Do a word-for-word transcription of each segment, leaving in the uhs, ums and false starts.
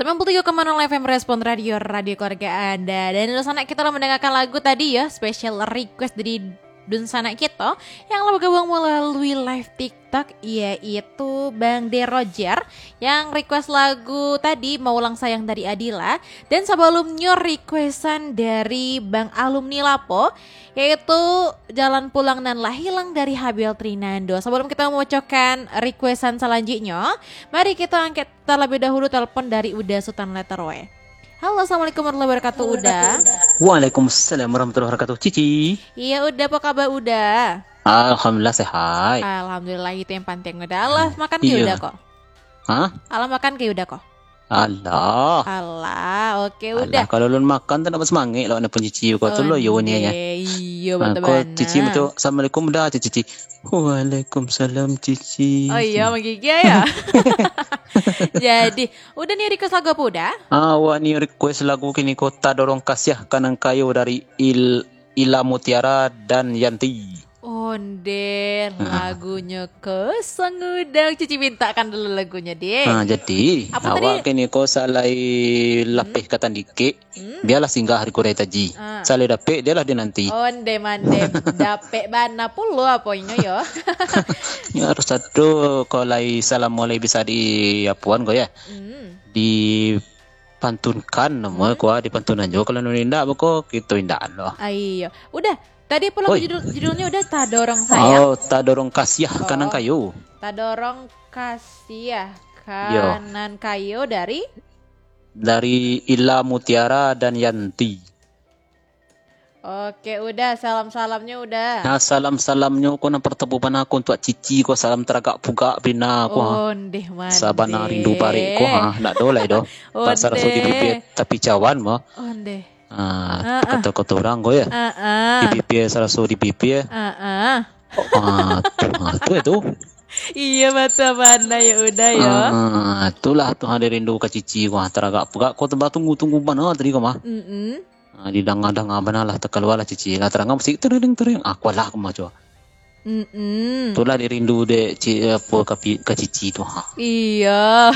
Sembilan puluh tiga koma nol F M Respon Radio, radio keluarga Anda. Dan dunsanak kita lah mendengarkan lagu tadi ya, special request dari dunsanak kita yang lah bergabung melalui live TikTok, yaitu Bang De Roger yang request lagu tadi, Maulang Sayang dari Adila. Dan sebelumnya requestan dari Bang Alumni Lapo, yaitu Jalan Pulang Nan Lah Hilang dari Habil Trinando. Sebelum kita membacakan requestan selanjutnya, mari kita angkat terlebih dahulu telepon dari Uda Sutan Letter W. Halo, assalamualaikum warahmatullahi wabarakatuh, Uda. Waalaikumsalam warahmatullahi wabarakatuh, Cici. Iya, Uda, apa kabar, Uda? Alhamdulillah, sehat. Alhamdulillah, itu yang penting, Uda. Alah, makan ke, Uda, ko? Hah? Alah, makan ke, Uda, ko? Alah. Alah, oke, Uda. Alah, kalau lun makan tu nak bersemangat lah, nak pun Cici ko tu lo, yo ni ya. Onde, iyo, ha, betul ko bana. Cici macam, "Assalamualaikum, Uda," Cici. "Waalaikumsalam, Cici." Oh iya, menggigil ya. Jadi, Uda ni request lagu apa, Uda? Ah, awak ni request lagu kini ko, Tadorong Kasiah Ka Nan Kayo dari Il-, Ila Mutiara dan Yanti. Onde, ah, lagunyo ko sangudang. Cici mintakan dulu lagunyo, deh. Ah, jadi, apa tadi? Awak kini ko salai lapeh ka tandikek, hmm, bialah singgah di kurai taji. Ah. Salai dapek, dialah dinanti. Onde mande, dapek bana pulo apo inyo yo. Nyo harus ado, ko lai salam mulai bisa di apuan ko ya. Hmm. Dipantunkan namo, hmm, ko, dipantunan juo. Kalau nyo indak, beko kito indak lo. Ah, iyo. Uda, tadi apo lagu, oi, judul, judulnyo Uda? Tadorong Sayang? Oh, Tadorong Kasiah Ka Nan Kayo. Oh. Tadorong Kasiah Ka Nan Kayo dari? Dari Ila Mutiara dan Yanti. Oke, Uda, salam-salamnyo Uda. Nah, salam-salamnyo ko nan partamo bana ko untuak Cici ko, salam taragak pugak bana ko, ha. Ondeh mande. Sabana rindu barek ko, ha, ndak do lai do. Ondeh. Bak saraso di bibia tapi cawan mah. Ondeh. Ah, ah, kato-kato urang ko ya. Ah, ah. Di bibia saraso di bibia. Ah, ah. Oh, ah, tu, ah, tu ya tu. Iyo, batua bana ya Uda yo. Ah, itulah tu, ha, dirindu ka Cici ko, ha, taragak pugak ko, batunggu-tunggu bana tadi ko mah. Mm-mm. Ah, didanga-danga bana lah, takalualah Cici lah, taranga musik tering-tering. Ah, kualah ko mah, cubo. Mm-mm. Itulah dirindu dek Ci-, apo, ka pi-, ka Cici tu, ha. Iyo.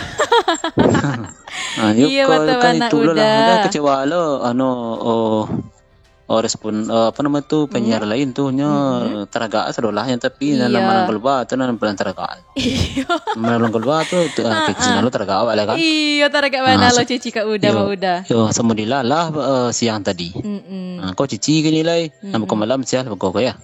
Ah, iyo, batua bana Uda. Itulah, kecewa lo, anu, oh, oh, respon, eh, apo namo tu, penyiar lain tu, nyo taragak sadolah nyo, tapi nan malang kalua tu nan paling taragak. Iyo. Malang kalua tu, tu, ah, kecil lo taragak awak lah kan. Iyo, taragak bana lo Cici ka Uda, Uda. Yo, samo dilalah, eh, siang tadi. Mm-mm. Ah, ko Cici kini lai, nan beko malam siang beko ko ya.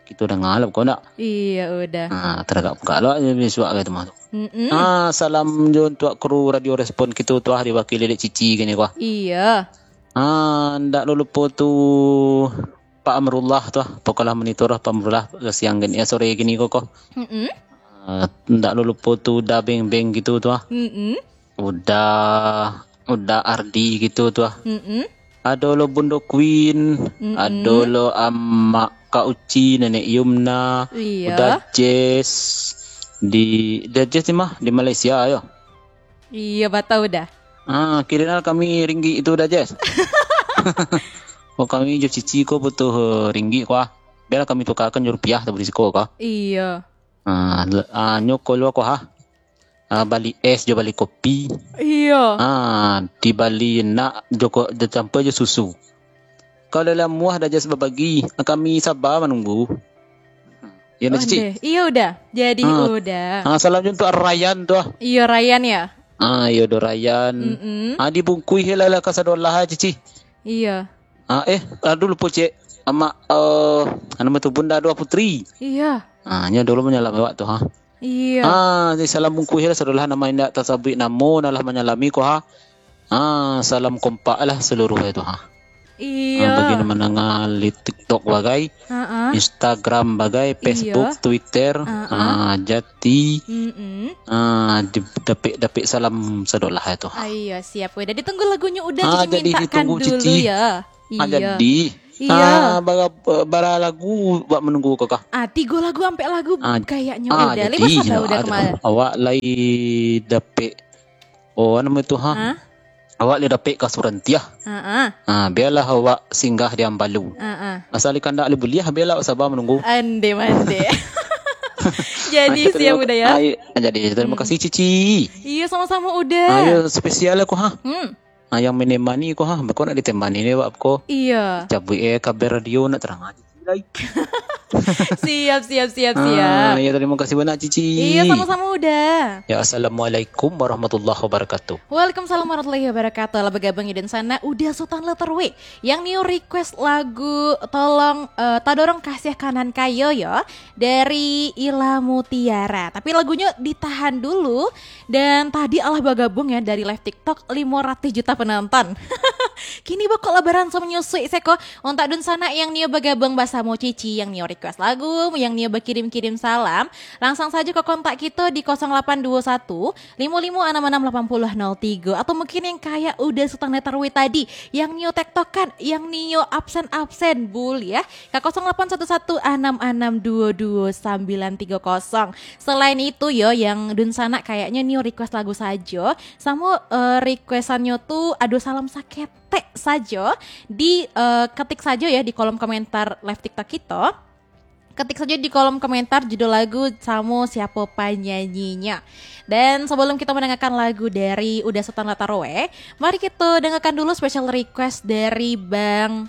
Kito danga lah beko ndak? Iyo, Uda. Ah, taragak pugak lo bisuak ka tu mah tu. Mm-mm. Ah, salam jo untuak kru Radio Respon kito tu ah, diwakili dek Cici kini ko. Iyo. Ah, ndak lo lupo tu Pak Amrullah tu ah, pokoklah monitor Pak Amrullah siang gini, eh, sore gini ko, ko. Mm-mm. Ah, ndak lo lupo tu Uda Beng Beng gitu tu ah. Mm-mm. Uda, Uda Ardi gitu tu ah. Mm-mm. Ado lo Bundo Queen, ado lo Amak Kak Uci, Nenek Yumna, iyo. Uda Jess, di, Uda Jess di mah? Di Malaysia yo. Iyo, batua Uda. Ah, kirimlah kami ringgit itu Uda Jess. Oh, kami jo Cici ko butuh, eh, ringgit ko ah. Biarlah kami tukarkan jo rupiah, tak berisiko ko. Iyo. Ah, le-, ah, nyo ko lo ko ha. Ah, bali es jo bali kopi. Iyo. Ah, dibali nak jo ko, dicampua jo susu. Kalau lah muah Uda Jess babagi, kami saba manunggu. Yo, ndak, Cici? Ondeh. Iyo, Uda. Jadi, ah, Uda. Ah, salam jo untuak Ryan tu ah. Iyo, Ryan ya? Ah, iyo, do Ryan. Mm-mm. Ah, dibungkuih lah, lah ka sadolah, Cici. Iyo. Ah, eh, aduh, lupo, Cek. Amak, eh, namo tu, Bunda Dua Putri. Iyo. Ah, nyo dulu manyalami awak tu, ha. Iyo. Ah, di salam bungkuih lah, sadolah namo indak tasabuik namo, nah lah manyalami ko, ha. Ah, salam kompak lah saluruh itu, ha. Iyo. Ah, bagi nan mandanga di TikTok bagai, Instagram bagai, Facebook, Twitter, ah, Jati. Mm-mm. Ah, di-, dapek-dapek salam sadolah itu, ha. Ah, iyo, siap. Uda, ditunggu lagunyo Uda, ah, Cici jadi mintakan ditunggu dulu Cici. Ya. Ah, iyo. Jadi. Iyo. Ah, bara, bara lagu buat manunggu ko kah? Ah, tigo lagu, ampek lagu kayaknyo Uda. Jadi, lepas sabar Uda kemarin. Awak lai dapek, oh, namo tu, ha? Ha? Awak lai dapek ka Surantiah. Ha, ha. Ah, biarlah awak singgah di Ambalu. Ha, ha. Asal ikan dak lai buliah, biarlah awak saba manunggu. Ande mande. Jadi, siap Uda, yo? Ayo, jadi, terima kasih, Cici. Iyo, samo-samo, Uda. Ayo, spesial ko, ha. Hmm. Ah, yang menemani ko, ha. Beko nak ditemani ni, Wak, ko. Iyo. Cabuik, eh, kabar radio nak terang aja. Siap, siap, siap, siap. Ah, ya, terima kasih banyak, Cici. Iya, sama-sama, Uda. Ya, assalamualaikum warahmatullahi wabarakatuh. Waalaikumsalam warahmatullahi wabarakatuh. Lah, bagabung di sana Uda Sutan Letter W yang nio request lagu Tolong, eh, Tadorong Kasih Kanan Kayo, yo, dari Ila Mutiara. Tapi lagunya ditahan dulu. Dan tadi alah bagabung, ya, dari live TikTok limo ratus juta penonton. Kini beko lah baransua manyusuik seko. Untuak dunsanak yang nio bagabung basamo Cici, yang nio request lagu, yang nio bakirim-kirim salam, langsung sajo ka kontak kito di kosong lapan duo satu, limo limo anam anam lapan puluh nol tigo, atau mungkin yang kayak Uda Sutan Letter W tadi, yang nio tektokan, yang nio absen-absen, buliah ka kosong lapan satu satu anam anam duo duo sambilan tigo kosong. Selain itu, yo, yang dunsanak kayaknyo nio request lagu sajo, samo, eh, requestannyo tu ado salam saketek sajo, di, eh, ketik sajo, ya, di kolom komentar live TikTok kito. Ketik sajo di kolom komentar judul lagu samo siapo panyanyinyo. Dan sebelum kita mendengarkan lagu dari Uda Sutan Letter W, mari kita dengarkan dulu special request dari Bang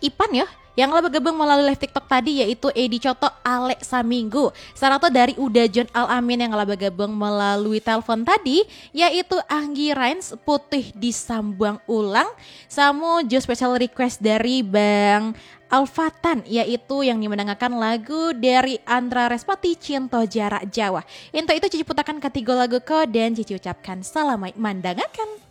Ipan, yo, yang lah bagabung malalui live TikTok tadi, yaitu Edi Cotok Alek Saminggu, sarato dari Uda John Al Amin yang lah bagabung malalui telepon tadi, yaitu Anggi Rains Putih Disambuang Ulang, samo jo special request dari Bang Alfatan, yaitu yang nio mandangakan lagu dari Andra Respati, Cinto Jarak Jauh. Untuk itu, Cici putakan katigo lagu ko dan Cici ucapkan salamaik mandangakan.